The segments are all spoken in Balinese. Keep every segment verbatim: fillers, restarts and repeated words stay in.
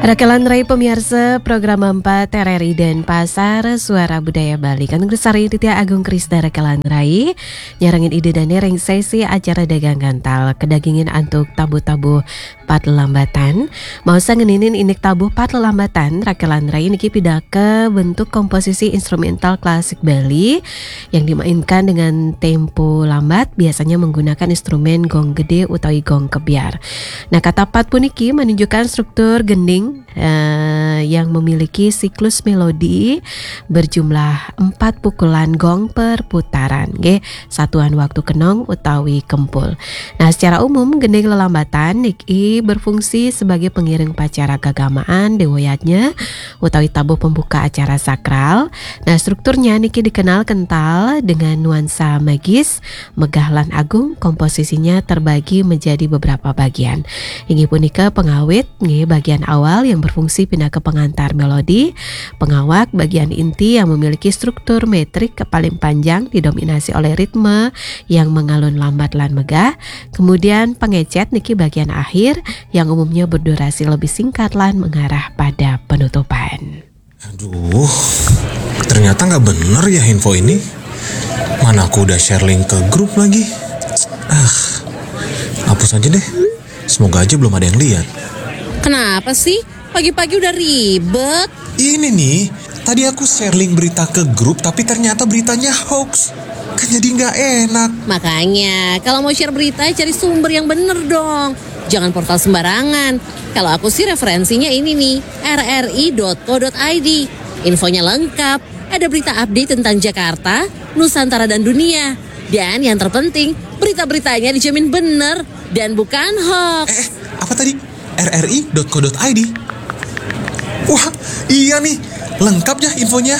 Rakelan Rai pemirsa, program empat R R I Denpasar, Suara Budaya Bali. Kanung Sari Ditya Agung Krista Rakelan Rai, nyarengin Ida Dane ring sesi acara Dagang Gantal, kadagingin antuk tabuh-tabuh pat lelambatan. Maosang ngeninin indik tabuh pat lelambatan, Rakelan Rai niki pinaka bentuk komposisi instrumental klasik Bali yang dimainkan dengan tempo lambat, biasanya menggunakan instrumen gong gede utawi gong kebyar. Nah, kata pat puniki menunjukkan struktur gending, eh, yang memiliki siklus melodi berjumlah empat pukulan gong per putaran, nggih, satuan waktu kenong utawi kempul. Nah, secara umum, gending lelambatan niki berfungsi sebagai pengiring upacara kagamaan, dewa yadnya, utawi tabuh pembuka acara sakral. Nah, strukturnya niki dikenal kental dengan nuansa magis, megah lan agung. Komposisinya terbagi menjadi beberapa bagian. Inggih punika pengawit, nggih, bagian awal yang berfungsi pinaka pengantar melodi, pengawak, bagian inti yang memiliki struktur metrik paling panjang didominasi oleh ritme yang mengalun lambat lan megah, kemudian pengecet niki bagian akhir yang umumnya berdurasi lebih singkat lan mengarah pada penutupan. Aduh, ternyata nggak bener ya info ini. Mana aku udah share link ke grup lagi. Ah, hapus aja deh. Semoga aja belum ada yang lihat. Kenapa sih? Pagi-pagi udah ribet. Ini nih, tadi aku share link berita ke grup tapi ternyata beritanya hoax. Kan jadi nggak enak. Makanya, kalau mau share berita, cari sumber yang bener dong. Jangan portal sembarangan. Kalau aku sih referensinya ini nih, R R I dot co dot I D. Infonya lengkap, ada berita update tentang Jakarta, Nusantara dan dunia. Dan yang terpenting, berita-beritanya dijamin bener dan bukan hoax. Eh, apa tadi? R R I dot co dot I D. Wah, iya nih, lengkap ya infonya.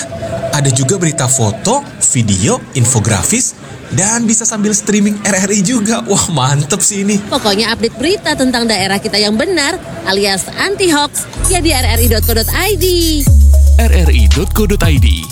Ada juga berita foto, video, infografis, dan bisa sambil streaming R R I juga. Wah, mantep sih ini. Pokoknya update berita tentang daerah kita yang benar alias anti hoax ya di R R I dot co dot I D. R R I dot co dot I D,